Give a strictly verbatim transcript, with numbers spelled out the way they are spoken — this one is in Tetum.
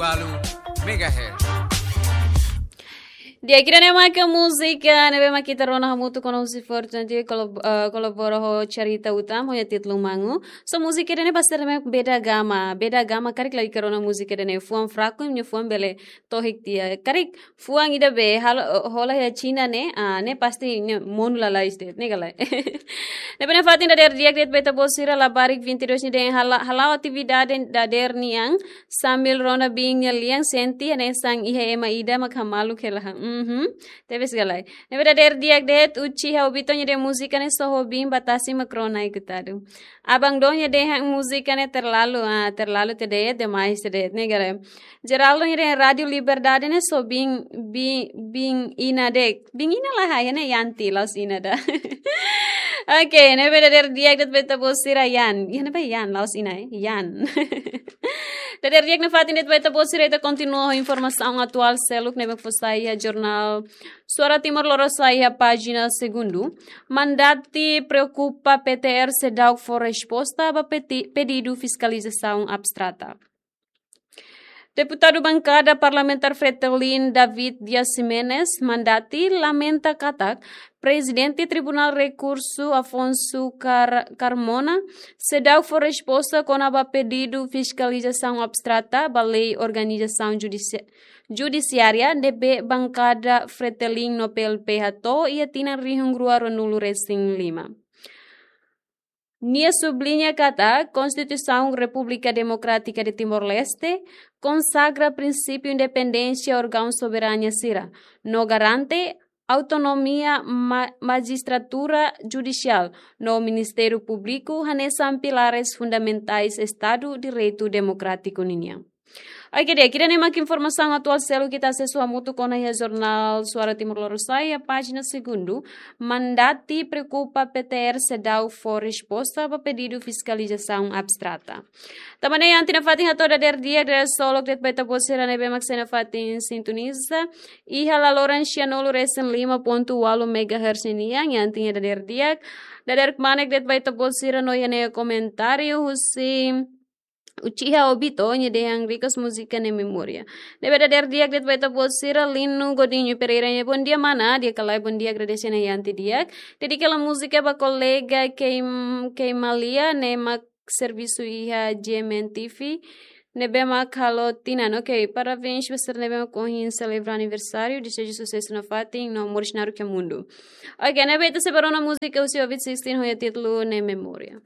Walu megahertz. Di'ak, ida-ne'e mak múzika ne'ebé mak ita rona hamutuk ona husi Forte Antigo, kolab-, eh, kolabora ho Charita Utam, ho nia títulu Mangu. So múzika ida-ne'e basta ne'e Beda Gama, Beda Gama karik lagi karona múzika ida-ne'e fuan fraku, nia fuan bele tohik tiha. Karik fuan ida be, halo, hola iha Xina ne'e, ah, ne'e pasti ne'e monu lalais de'it, ne'e ka lae. Ne'ebé nafatin dadeer di'ak de'it ba ita-boot sira, labarik vinte e dois nia dehan halo, halo atividade dadeer nian, sambil rona biin nia lian, sente hanesan iha ema ida mak hamaluk hela. Mhm. Tebes ka lae. Ne'ebé dadeer di'ak de'it, Uchiha Obito nia dehan múzika ne'e só ho biin ba tasi mak rona, ai kutadu. Abang Dom nia dehan múzika ne'e terlalu, ah, terlalu tiha de'it, demais tiha de'it, ne'e ka lae. Geraldo nia dehan Rádio Liberdade ne'e só biin, biin, biin ina de'it. Biin ina lae, iha ne'e Yanti, la'ós ina ida. Oke, ne'ebé dadeer di'ak de'it ba ita-boot sira, Yan. Iha ne'ebá Yan, la'ós ina, eh? Yan. Dadeer di'ak nafatin de'it ba ita-boot sira, ita kontinua ho informasaun atuál seluk ne'ebé fó sai iha jornál Suara Timor Lorosa'e iha pájina segundu. Mandati preokupa P T R, SEDAW fó resposta ba peti-, pedidu fiskalizasaun abstrata. Deputadu bankada parlamentár Fretilin David Dias Ximenes, Mandati, lamenta katak Prezidente Tribunál Rekursu Afonso Car-, Carmona, SEDAW fó resposta kona-ba pedidu fiskalizasaun abstrata ba lei organizasaun judisi-, judisiária ne'ebé bankada Fretilin no P L P hato'o iha tinan rihun rua ruanulu resin lima. Nia subliña katak Konstituisaun Repúblika Demokrátika de Timor-Leste konsagra prinsípiu independénsia órgaun soberania sira, no garante autonomia ma-, majistratura judisiál no Ministériu Públiku hanesan pilares fundamentais Estadu Direitu Demokrátiku ninian. Oke, di'ak, ida-ne'e mak informasaun atuál seluk ita asesu hamutuk ona iha jornál Suara Timor Lorosa'e iha pájina segundu. Mandati preokupa P T R, SEDAW fó resposta ba pedidu fiskalizasaun abstrata. Tanba ne'e Yanti nafatin hato'o dadeer di'ak, dadeer solok de'it ba ita-boot sira ne'ebé mak sei nafatin sintoniza iha laloran sianulu resin lima pontu walu megahertz nian, Yanti nia dadeer di'ak. Dadeer kmanek de'it ba ita-boot sira no iha ne'e komentáriu husi Uchiha Obito, nia dehan rikas múzika ne'e memória. Ne'ebé dadeer di'ak de'it ba ita-boot sira, Lino Godinho Pereira nia bondia mana, di'ak ka lae, bondia, agradese ona Yanti di'ak. Dedika hela múzika ba kolega Keim-, Keimalia, ne'e mak servisu iha G M N T V. Ne'ebé mak halo tinan, oke, parabéns ba sira ne'ebé mak ohin selebra aniversáriu, deseja susesu nafatin, no moris naruk iha mundu. Oke, ne'ebé ita sei bá rona múzika husi Ovid Sixteen ho nia títulu ne'e Memória.